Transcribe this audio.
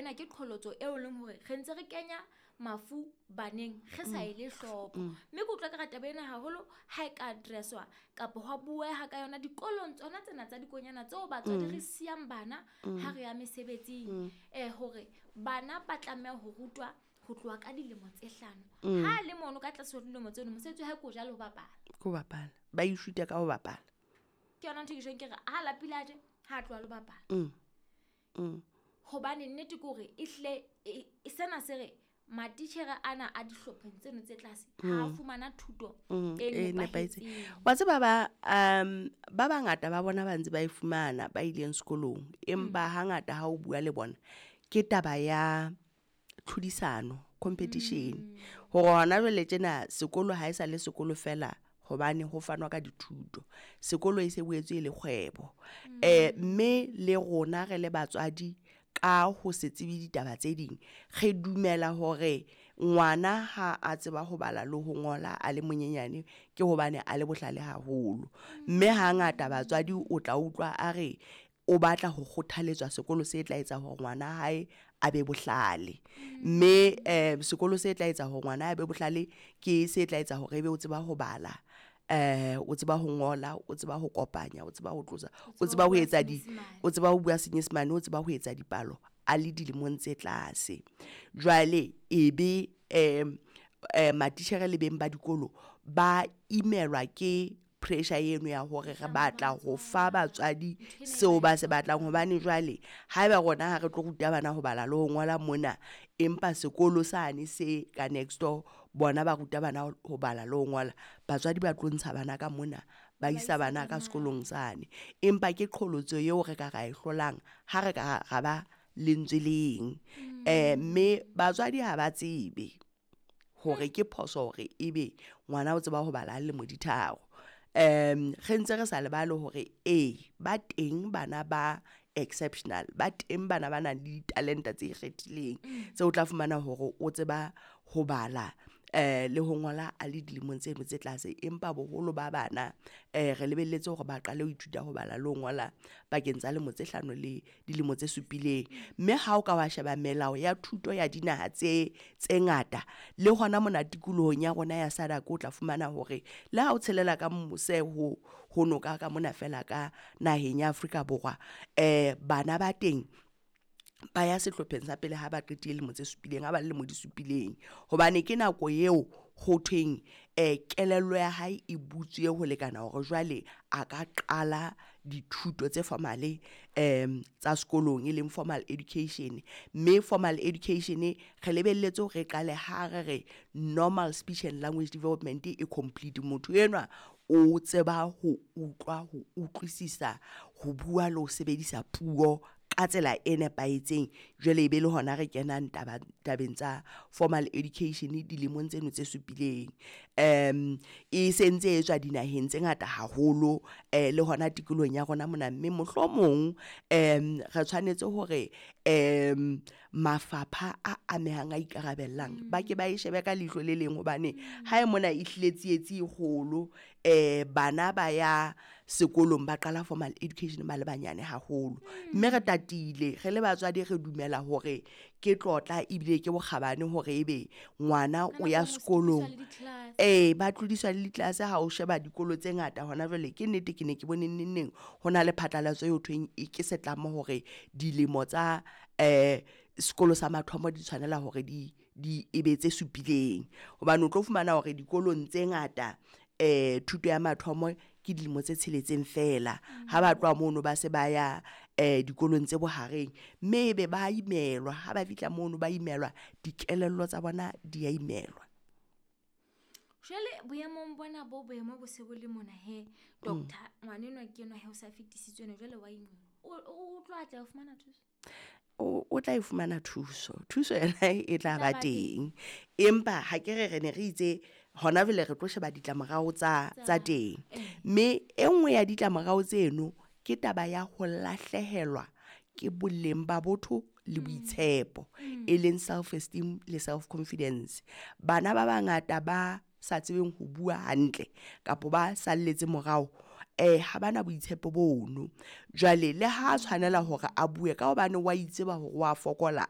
ena ke qholotso eo leng hore re ntse re kenya mafu baneng re sa ele hloko. Mme ke utlwa ka re taba ena haholo ha e ka addresswa kapa hwa bueha ka yona dikolong tsona tsena tsa dikonyana tseo batswadi re siyang bana ha re ya mesebetsing, hore bana ba tlameha ho rutwa ho tloha ka dilemo tse 5. Ha le mono ka tlase ho dilemo tseno, mosebetsi wa hae ke ho ja le ho bapala. Ke ho bapala, ba ithuta ka ho bapala. Ke yona ntho e ke tjhong ke re ha lapile a je, ha tloha le bapala. Hobane nnete ke hore ehlile sena se re matitjhere ana a dihlopheng tseno tse tlase ha fumana thuto e e nepahetseng. nepahetseng. Wa tseba ba bangata ba bona ba ntse ba e fumana ba ileng sekolong, empa hangata ha o bua le bona ke taba ya tlhodisano, competition. Hore hona jwale tjena sekolo ha e sa le sekolo fela hobane ho fanwa ka dithuto. Sekolo e se boetse e le kgwebo. Mme le rona re le batswadi ka ho se tsebe ditaba tse ding, re dumela hore ngwana ha a tseba ho bala le ho ngola a le monyenyane ke hobane a le bohlale haholo. Mme hangata batswadi o tla utlwa a re o batla ho kgothaletswa sekolo se tla etsa hore ngwana hae a be bohlale. Mme sekolo se tla etsa hore ngwana a be bohlale ke se tla etsa hore ebe o tseba ho bala, o tseba ho ngola, o tseba ho kopanya, o tseba ho tlosa, o tseba ho etsa di, o tseba ho bua Senyesemane, o tseba ho etsa dipalo a le dilemong tse tlase. Jwale ebe matitjhere le beng ba dikolo ba imelwa ke pressure eno ya hore re batla ho fa batswadi seo ba se batlang. Hobane jwale haeba rona ha re tlo ruta bana ho bala le ho ngola mona, empa sekolo sane se ka next door bona ba ruta bana ho bala le ho ngola, batswadi ba tlo ntsha bana ka mona ba isa bana ka sekolong sane. Empa ke qholotso eo re ka ra e hlolang ha re ka ra ba lentswe leng. Mme batswadi ha ba tsebe hore ke phoso hore ebe ngwana o tseba ho bala lemo di 3. Re ntse re sa lebale hore ba teng bana ba exceptional, ba teng bana ba nang le ditalente tse ikgethileng tseo o tla fumana hore o tseba ho bala le ho ngola a le dilemong tseno tse tlase. Empa boholo ba bana re lebelletse hore ba qale ho ithuta ho bala le ho ngola pakeng tsa lemo tse 5 le dilemo tse 7. Mme ha o ka wa sheba melao ya thuto ya dinaha tse ngata le hona mona tikolohong ya rona ya SADC, o tla fumana hore le ha o tshelela ka mose ho noka ka mona fela ka naheng ya Afrika Borwa, bana ba teng ba ya sehlopheng sa pele ha ba qetile lemo tse 7, ha ba le lemo di 7. Hobane ke nako eo ho thweng kelello ya hae e butswe ho lekana hore jwale a ka qala dithuto tse formale tsa sekolong, e leng formal education. Mme formal education re lebelletse hore re qale ha re re normal speech and language development e complete. Motho enwa o tseba ho utlwa, ho utlwisisa, ho bua le ho sebedisa puo ka tsela e nepahetseng. Jwale ebe le hona re kenang tabeng tsa formal education dilemong tseno tse 7. E sentse e etswa dinaheng tse ngata haholo le hona tikolohong ya rona mona. Mme mohlomong re tshwanetse hore mafapha a amehang a ikarabellang ba ke ba e shebe ka leihlo le leng, hobane ha e mona e hlile tsietsi e kgolo. Bana ba ya sekolong ba qala formal education ba le banyane haholo. Mme re tatile re le batswadi, re dumela hore ke tlotla ebile ke bokgabane hore ebe ngwana o ya sekolong. Ba tlodiswa le ditlelase. Ha o sheba dikolo tse ngata hona jwale, ke nnete ke ne ke bone neng ho na le phatlalatso eo thweng ke setlamo hore dilemo tsa sekolo sa mathomo di tshwanela hore di ebe tse 7. Hobane o tlo fumana hore dikolong tse ngata thuto ya mathomo ke dilemo tse 6 fela. Ha ba tloha mono ba se ba ya dikolong tse bohareng, mme ebe ba imelwa. Ha ba fihla mono ba imelwa, dikelello tsa bona di a imelwa. Jwale boemong bona bo boemo bo se bo le mona he doctor, ngwana enwa ke enwa he o sa fetisitswe ena jwale wa imelwa. O tlo atleha ho fumana thuso? O tla e fumana thuso. Thuso yona e tla ba teng. Empa ha ke re ne re itse hona jwale re tlo sheba ditlamorao tsa teng. Mme e nngwe ya ditlamorao tseno ke taba ya ho lahlehelwa ke boleng ba botho le boitshepo, e leng self esteem le self confidence. Bana ba bangata ba sa tsebeng ho bua hantle kapa ba salletse morao, ha bana boitshepo bono. Jwale le ha tshwanela hore a bue ka hobane wa itseba hore wa fokola,